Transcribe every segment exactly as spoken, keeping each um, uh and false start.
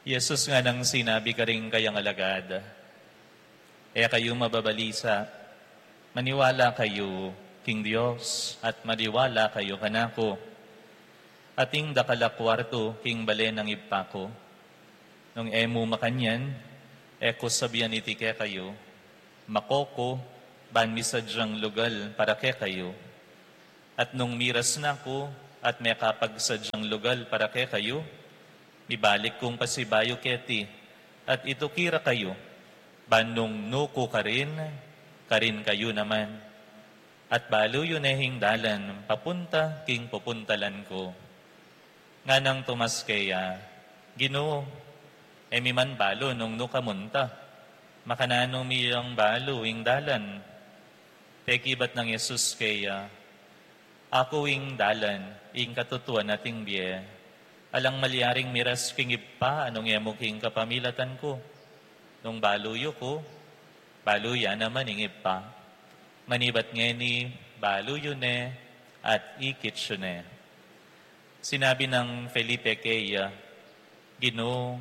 Jesus nganang sinabi karing kayang alagad, "E kayu mababalisa, maniwala kayu king Dios at maniwala kayu kanaku. Atin dakal a kuartu king bale nang Ibpa ku. Nung e mu makanyan, e ku sabian iti kekayu, mako ku, ban misadyang lugal para kekayu. At nung miras na ku, at mekapagsadyang lugal para kekayu, mibalik kung pasibayu keti, at ituki ra kayu, ban nung nu ku karin, karin kayu naman. At balu yu ne ing dalan papunta king pupuntalan ku." Nganang Tomas keya, "Ginu, e mi man balu nung nu ka munta. Makananu mi yang balu ing dalan?" Pekibat nang Jesus keya, "Aku ing dalan, ing katutuan at ing bie. Alang malyaring miras king Ibpa nung e mu king kapamilatan ku. Nung balu yu ku, balu ya naman ing Ibpa. Manibat ngeni, balu yu ne at ikit yu ne." Sinabi nang Felipe keya, "Ginu,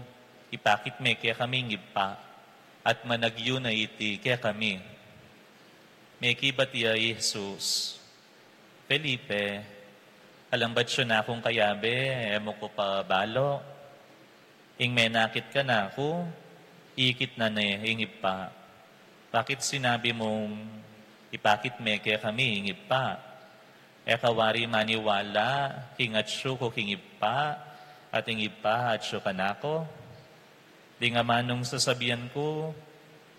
ipakit me kekami ing Ibpa, at managyu na iti kekami." Mekibat ya i Jesus, "Felipe, alambat yu na kung kayabe, e mu ku pa balu? Ing menakit kanaku, ikit na ne ing Ibpa. Bakit sinabi mung ipakit me kekami ing Ibpa? E ka wari maniwala king atsu ku king Ibpa, at ing Ibpa atsu kanaku? Ding amanung sasabian ku,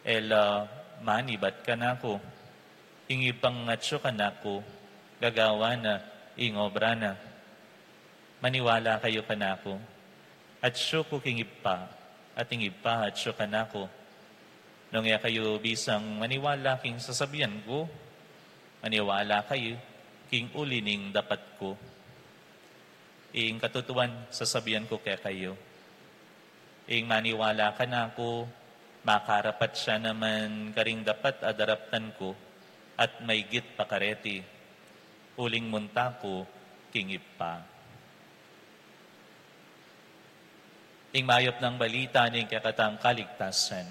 e la manibat kanaku. Ing Ibpang atsu kanaku, gagawan na ing obra na. Maniwala kayu kanaku. Atsu ku king Ibpa, at ing Ibpa atsu kanaku. Nung e kayu bisang maniwala king sasabian ku, maniwala kayu king uli ning dapat ku. Ing katutuan sasabian ku kekayu, ing maniwala kanaku, makarapat ya naman karing dapat a daraptan ku, at maigit pa kareti, uling munta ku king Ibpa." Ing mayap nang balita ning kekatang kaligtasan.